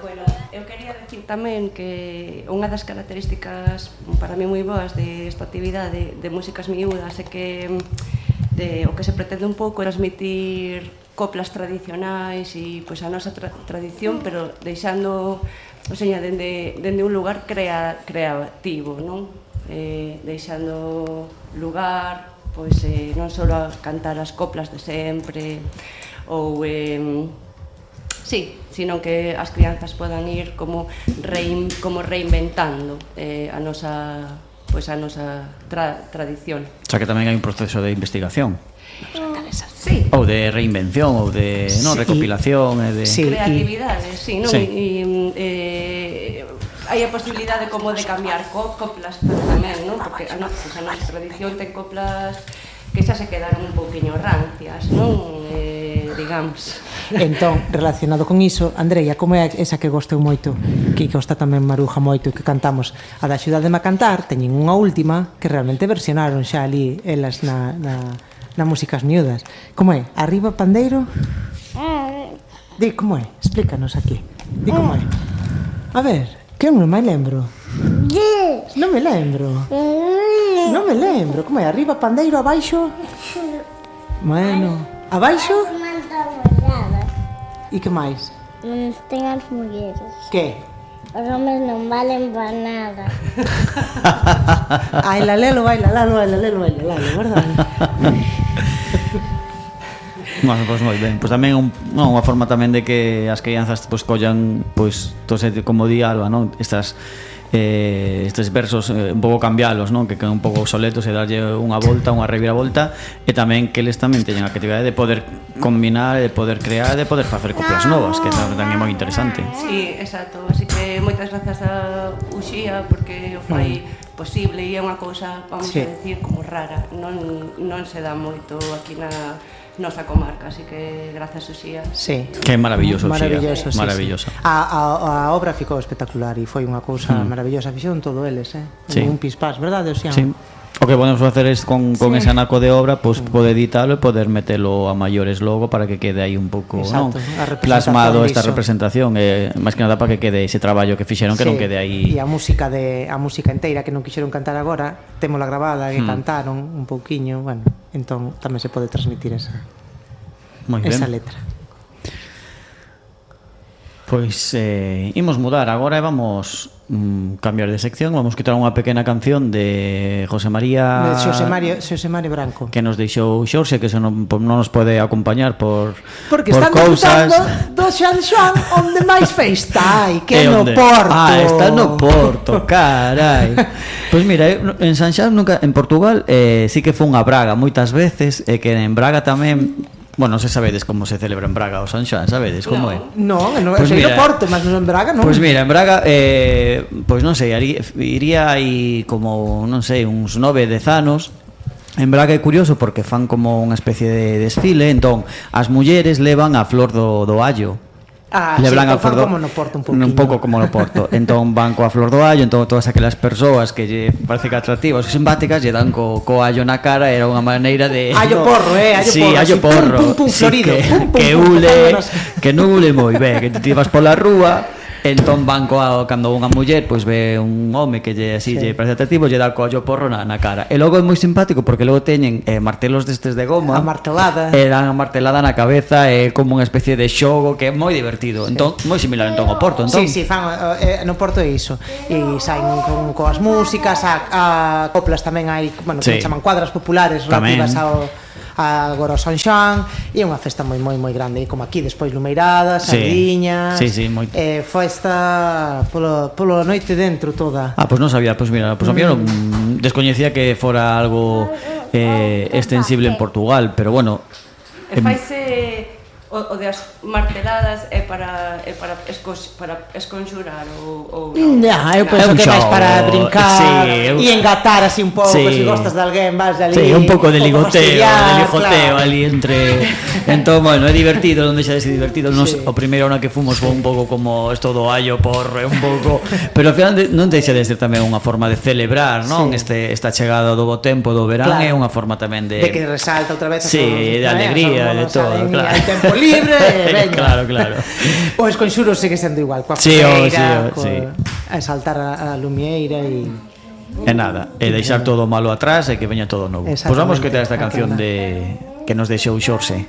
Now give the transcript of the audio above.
Bueno, eu quería decir tamén que unha das características para mí moi boas desta actividade de músicas miúdas é que o que se pretende un pouco é transmitir coplas tradicionais e pois a nosa tradición, pero deixando, o sea, dende un lugar creativo, non? Deixando lugar, pois non só a cantar as coplas de sempre ou sí, sino que as crianzas podan ir como reinventando a nosa tradición. Xa que tamén hai un proceso de investigación. Sí. Ou de reinvención, ou de recopilación, e de creatividade, sí, non? Hai a posibilidade como de cambiar coplas tamén, non? Porque a nosa tradición ten coplas que xa se quedaron un pouquiño rancias, non? Digamos. Entón, relacionado con iso, Andreia, como é esa que gostou moito, que gosta tamén Maruja moito e que cantamos, a da Axudademe a cantar, teñen unha última que realmente versionaron xa ali elas na Músicas Miúdas. Como é? Arriba pandeiro? Di, como é? Explícanos aquí. Di como é. A ver, que eu non me lembro. Non me lembro. Non me lembro. Como é? Arriba pandeiro, abaixo? Bueno, abaixo? E que máis? Non ten as mulleres. Que? Os homes non valen para nada. Ai, lalelo, verdade? Bueno, pois moi ben. Pois tamén unha forma tamén de que as crianzas pois collan, pois, como di Alba, non? Estes versos un pouco cambialos, non? Que quedan un pouco obsoletos e darlle unha volta, unha reviravolta, e tamén que eles tamén teñen a creatividade de poder combinar, de poder crear, de poder facer coplas novas, que tamén é moi interesante. Sí, exacto, así que moitas grazas a Uxía porque o fai posible e é unha cousa, vamos a decir, como rara, non se dá moito aquí na nosa comarca, así que grazas Uxía. Sí. Que é maravilloso, maravilloso, maravillosa. Sí. A obra ficou espectacular e foi unha cousa maravillosa, fixeron todo eles, un pispás, verdade, Uxía? Sí. O que podemos facer é con ese anaco de obra, pois poder editalo e poder metelo a maiores logo para que quede aí un pouco, non, plasmado esta representación, máis que nada para que quede ese traballo que fixeron, que non quede aí. E a música enteira que non quixeron cantar agora, témola grabada, que cantaron un pouquiño, bueno, entón tamén se pode transmitir esa letra. Pois imos mudar agora e vamos cambiar de sección. Vamos quitar unha pequena canción de José María Branco, que nos deixou Xorxe, que non nos pode acompañar porque están disfrutando do San Xoán onde máis festa hai, que no Porto. Está no Porto, carai. Pois mira, en San Xoán nunca, en Portugal sí que fun a Braga moitas veces, e que en Braga tamén. Bueno, non se sabedes como se celebra en Braga o San Xoán, sabedes como é? Non, sei no Porto, mas non en Braga non. Pois mira, en Braga, pois non sei, iría aí como, non sei, uns 9, 10 anos. En Braga é curioso porque fan como unha especie de desfile, entón as mulleres levan a flor do allo. Lebran a flor como no Porto un pouco como no Porto. Entón van coa flor do allo, entón todas aquelas persoas que lle parece que atractivas e simpáticas lle dan co allo na cara. Era unha maneira de allo porro, sí, allo porro, pum, florido, que ule, que non ule moi ben, que te vas pola rúa. Entón van cando unha muller pois ve un home que lle así lle parece atractivo, lle dá co allo porro na cara. E logo é moi simpático porque logo teñen martelos destes de goma, a martelada na cabeza, é como unha especie de xogo que é moi divertido. Entón moi similar ao Porto, entón. Sí, fan no Porto é iso. E saen coas músicas, a coplas tamén hai, bueno, que chaman cuadras populares relativas agora o San Xoán, e é unha festa moi grande, como aquí despois lumeiradas, sardiñas, festa polo noite dentro toda. Pois non sabía, pois mira, pois a mí descoñecía que fora algo extensible en Portugal, pero bueno. E faise o de as marteladas é para esconxurar ou eu penso que vais para brincar e engatar así un pouco, se gostas de alguén vas ali. Sí, un pouco de ligoteo ali entre. Entón, bueno, é divertido, non deixa de ser divertido. O primeiro ano que fomos foi un pouco como esto do allo porro, un pouco, pero ao final non deixa de ser tamén unha forma de celebrar, non? Esta chegada do bo tempo do verán é unha forma tamén de que resalta outra vez de alegría, de todo, claro. libre, veña. Claro. O Esconxuros segue sendo igual, coa Sí, fogueira, sí. a saltar a lumieira e... E nada, e deixar todo malo atrás e que veña todo novo. Pois vamos que ter esta canción de que nos deixou Xorxe.